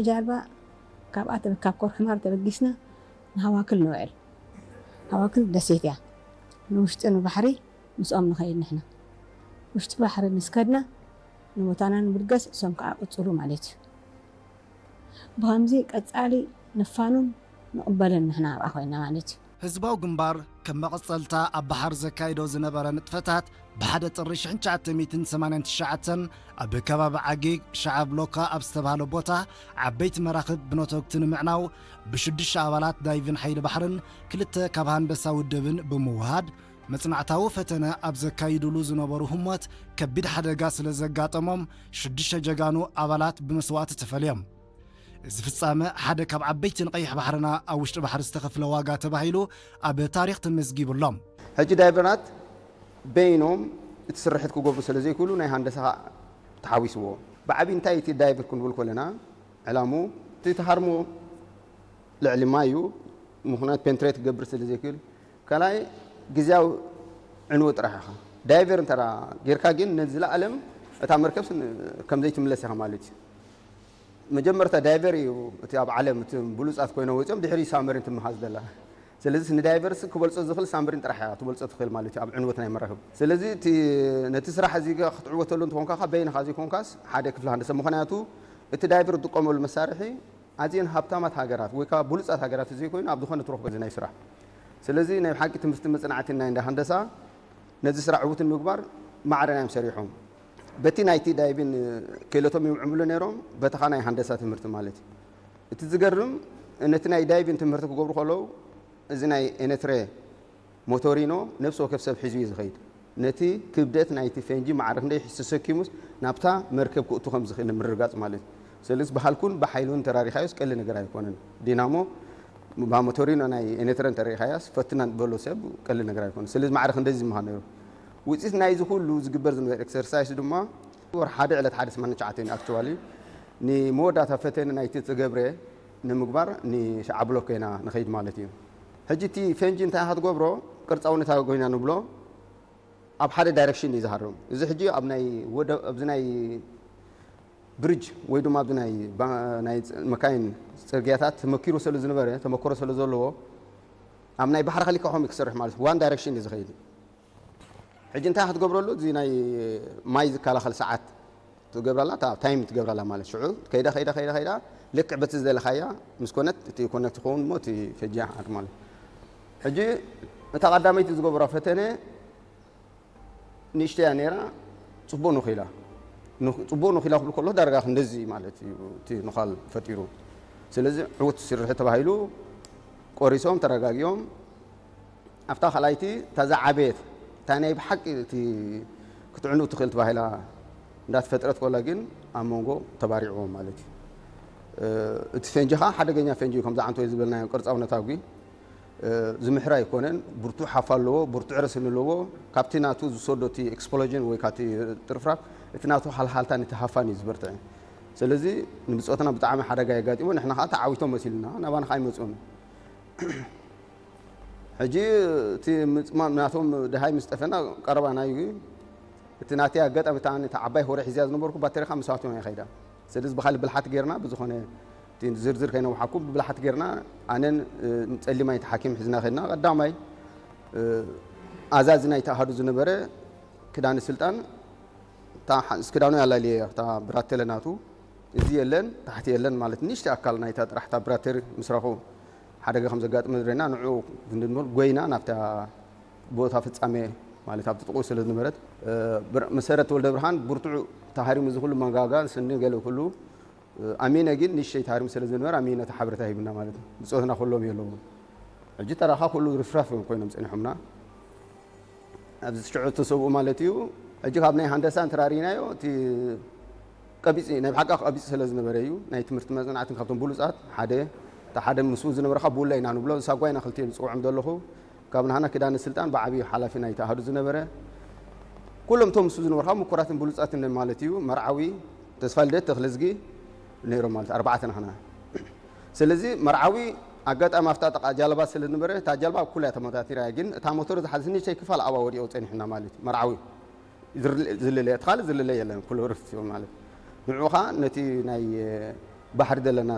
ጃልባ ካብኣ ተበ-፣ ካብ ኮርሕማር ተበጊስና ንሃዋክል ንውዕል። ሃዋክል ደሴት እያ። ንውሽጢ ንባሕሪ ምስኦም ንኸይድ ንሕና። ውሽጢ ባሕሪ ምስ ከድና ንቦታና ንምድገስ፣ እሶም ከዓ ቅጽሉ ማለት እዩ። ብኸምዚ ቀጻሊ ንፋኑን ንቕበልን ንሕና ኣብኣ ኮይና ማለት እዩ። ህዝባዊ ግንባር ከም መቐጸልታ ኣብ ባሕር ዘካይዶ ዝነበረ ንጥፈታት፣ ብሓደ ጥሪ ሽሕን ትሽዓተ ሚእትን ሰማንያን ትሽዓተን ኣብ ከባቢ ዓጊግ ሸዓብ ሎካ ኣብ ዝተባህለ ቦታ ዓበይቲ መራኽብ ብነተጉቲ ንምዕናው ብሽዱሽተ ኣባላት ዳይቭን ሓይሊ ባሕርን ክልተ ካብ ሃንደሳ ውድብን ብምውሃድ መጽናዕታዊ ፈተነ ኣብ ዘካይዱሉ ዝነበሩ ህሞት ከቢድ ሓደጋ ስለ ዘጋጠሞም ሽዱሽተ ጀጋኑ ኣባላት ብመስዋእቲ ተፈልዮም። እዚ ፍጻመ ሓደ ካብ ዓበይቲ ንቀይሕ ባሕርና ኣብ ውሽጢ ባሕሪ ዝተኸፍለ ዋጋ ተባሂሉ ኣብ ታሪኽ ተመዝጊቡ ኣሎ። ሕጂ ዳይቨራት በይኖም እቲ ስርሕት ክገብሩ ስለ ዘይክእሉ ናይ ሃንደሳ ተሓዊስዎ። ብዓቢ እንታይ እቲ ዳይቨር ክንብል ከለና ዕላሙ እቲ ተሃርሞ ልዕሊ ማይ እዩ። ምኽንያት ፔንትሬት ክገብር ስለ ዘይክእል ካልኣይ ግዜያዊ ዕንወት ጥራሕ ኢኻ። ዳይቨር እንተ ጌርካ ግን ነዚ ለኣለም እታ መርከብስ ን-፣ ከም ዘይትምለስ ኢኻ ማለት እዩ። መጀመርታ ዳይቨር እዩ እቲ ኣብ ዓለም እቲ ብሉጻት ኮይኖም ወጺኦም ድሕሪ ሳመሪን ትመሃዝ ዘላ። ስለዚ ንዳይቨርስ ክበልጾ ዝኽእል ሳምብሪን ጥራሕ እያ ትበልጾ ትኽእል ማለት እዩ ኣብ ዕንወት ናይ መራኽብ። ስለዚ እቲ ነቲ ስራሕ እዚ ክትዕወተሉ እንተኾንካ በይንኻ ዘይኮንካስ ሓደ ክፍሊ ሃንደሰ ምኽንያቱ እቲ ዳይቨር ዝጥቀመሉ መሳርሒ ኣዝየን ሃብታማት ሃገራት ወይ ከዓ ብሉጻት ሃገራት ዘይኮይኑ ኣብ ዝኾነ ትረኽቦ እዚ ናይ ስራሕ። ስለዚ ናይ ብሓቂ ትምህርቲ መጽናዕቲ ናይ እንዳ ሃንደሳ ነዚ ስራሕ ዕዉት ንምግባር ማዕረ ናይ እዮም ሰሪሖም። በቲ ናይቲ ዳይቪን ክእለቶም ይምዕምሉ ነይሮም፣ በተኻ ናይ ሃንደሳ ትምህርቲ ማለት እዩ። እቲ ዝገርም ነቲ ናይ ዳይቪን ትምህርቲ ክገብሩ ከለዉ እዚ ናይ ኤነትሬ ሞቶሪኖ ነፍሲ ወከፍ ሰብ ሒዙ እዩ ዝኸይድ። ነቲ ክብደት ናይቲ ፈንጂ ማዕረ ክንደይ ተሰኪሙስ ናብታ መርከብ ክእቱ ከም ዝኽእል ንምርግጋጽ ማለት እዩ። ስለዚ ብሃልኩን ብሓይሉን ተራሪኻዮስ ቀሊ ነገር ኣይኮነን። ዲናሞ ብሞቶሪኖ ናይ ኤነትረ እንተሪኢኻያስ ፈትና በሎ ሰብ ቀሊ ነገር ኣይኮነን። ስለዚ ማዕረ ክንደዚ ምዃን ነይሩ። ውፅኢት ናይዚ ኩሉ ዝግበር ዝነበረ ኤክሰርሳይስ ድማ ወር ሓደ ዕለት ሓደ ስማንያን ትሽዓተን እዩ። ኣክቹዋሊ ንመወዳእታ ፈተነ ናይቲ ዝገብረ ንምግባር ንሸዓ ብሎክ ኢና ንኸይድ ማለት እዩ። ሕጂ እቲ ፈንጂ እንታይ ኢኻ ትገብሮ? ቅርፃውነት ኣጎይና ንብሎ ኣብ ሓደ ዳይሬክሽን እዩ ዝሃርም። እዚ ሕጂ ኣብ ናይ ወደ-፣ ኣብዚ ናይ ብሪጅ ወይ ድማ ኣብዚ ናይ ባ-፣ ናይ ፅ-፣ መካይን ፅርግያታት ተመኪሩ ስለ ዝነበረ፣ ተመክሮ ስለ ዘለዎ ኣብ ናይ ባሕሪ ከሊካ ከምኡ ክሰርሕ ማለት ዋን ዳይሬክሽን እዩ ዝኸይድ። ሕጂ እንታይ ክትገብረሉ? እዚ ናይ ማይ ዝከላኸል ሰዓት ትገብራላ፣ እታ ታይም ትገብራላ ማለት ሽዑ ከይዳ ከይዳ ከይዳ ከይዳ ልክዕ በቲ ዝደለኻያ ምስ ኮነት እቲ ኮነት ትኸውን እሞ እቲ ፈንጂ ይሓር ማለት። ሕጂ እታ ቀዳመይቲ ዝገብራ ፈተነ ንእሽተያ ነይራ፣ ጽቡቕ ንኺላ። ንኽ-፣ ጽቡቕ ንኺላ ክብል ከሎ ዳርጋ ክንደዚ ማለት እዩ እቲ ንዃል ፈጢሩ። ስለዚ ዕዉት ስርሒ ተባሂሉ ቆሪሶም ተረጋጊኦም ኣብታ ካልኣይቲ እታ ዝዓበየት እታ ናይ ብሓቂ እቲ ክትዕኑ ትኽእል ተባሂላ እንዳተፈጥረት ከላ ግን ኣብ መንጎ ተባሪዕዎም ማለት እዩ። እ፣ እቲ ፈንጂ ኸዓ ሓደገኛ ፈንጂ እዩ፣ ከምዚ ዓንቶ ዝበልናዮ ቅርጻውነታዊ እ፣ ዝምሕር ኣይኮነን። ብርቱዕ ሃፋ ኣለዎ፣ ብርቱዕ ረስኒ ኣለዎ። ካብቲ ናቱ ዝሰዶ እቲ ኤክስፕሎዥን ወይ ካብቲ ጥርፍራፍ እቲ ናቱ ሃልሃልታ ነቲ ሃፋን እዩ ዝበርትዐ። ስለዚ ንብጾትና ብጣዕሚ ሓደጋ የጋጢሞ፣ ንሕና ኸዓ ተዓዊቶም መሲሉና ናባና ኸዓ ኣይመጹን። ሕጂ እቲ ምጽማም ናቶም ደሃይ ምስ ጠፈና ቀረባና እዩ። እቲ ናተይ ኣጋጣሚ እታ ኣነ እታ ዓባይ ሆረ ሒዝያ ዝነበርኩ ባተሪኻ ምስኣቶም እየ ኸይዳ። ስለዚ ብኻልእ ብልሓት ጌርና ብዝኾነ እቲ ዝርዝር ከይነውሓኩም ብብልሓት ጌርና ኣነን፣ እ፣ ጸሊማይ እቲ ሓኪም ሒዝና ኸድና። ቀዳማይ፣ እ፣ ኣዛዚ ናይቲ ኣሃዱ ዝነበረ ክዳነ ስልጣን እታ ሓ-፣ ክዳኑ ያላልየ እታ ብራተለ ናቱ እዚ የለን ታሕቲ የለን ማለት ንእሽተይ ኣካል ናይታ ጥራሕ እታ ብራተሪ ምስ ረኸቡ ሓደጋ ከም ዘጋጥመ ዝረና ንዕኡ ክንድንብል ጎይና ናብታ ቦታ ፍጻሜ ማለት ኣብቲ ጥቕኡ ስለ ዝነበረት፣ እ፣ ብር-፣ መሰረት ወልደ ብርሃን ብርቱዕ ተሃሪሙ እዚ ኩሉ መንጋጋ ስኒ ገለ ኩሉ፣ እ፣ ኣሚነ ግን ንእሽተይ ተሃሪሙ ስለ ዝነበረ ኣሚነ እቲ ሓበሬታ ሂብና ማለት እዩ። ብጾትና ኩሎም የለውን። ሕጂ ተራኻ ኩሉ ርፍራፍ እዮም ኮይኖም ጸኒሖምና። ኣብዚ ሽዑ እተሰብኡ ማለት እዩ። ሕጂ ካብ ናይ ሃንደሳ እንተራሪናዮ እቲ ቀቢጽ ናይ ብሓቂ ቀቢጽ ስለ ዝነበረ እዩ። ናይ ትምህርቲ መጽናዕትን ካብቶም ብሉጻት ሓደ፣ እቲ ሓደ ምስኡ ዝነበረ ካብ ብውላ ኢና ንብሎ፣ ሳጓ ኢና ክልቲኦም ዝጽውዖም ዘለኹ። ካብ ናህና ኪዳነ ስልጣን ብዓብዩ ሓላፊ ናይቲ ኣሃዱ ዝነበረ፣ ኩሎም እቶም ምስኡ ዝነበሩ ካብ ምኩራትን ብሉጻትን ማለት እዩ። መርዓዊ፣ ተስፋ ልደት፣ ተኽለዝጊ ነይሮም ማለት ኣርባዕተ ናህና። ስለዚ መርዓዊ ኣጋጣሚ ኣብታ ጥቓ ጃልባ ስለ ዝነበረ፣ እታ ጃልባ ኣብ ኩላ እያ ተመታቲራ እያ፣ ግን እታ ሞተር ዝሓዘት ንእሽተይ ክፋል ኣብኣ ወዲቑ ጸኒሑና ማለት እዩ። መርዓዊ ዝርለ-፣ ዝልለ፣ እቲ ካልእ ዝልለ የለን፣ ኩሉ ርፍ እዩ ማለት። ንዕኡ ኸኣ ነቲ ናይ ባሕሪ ዘለና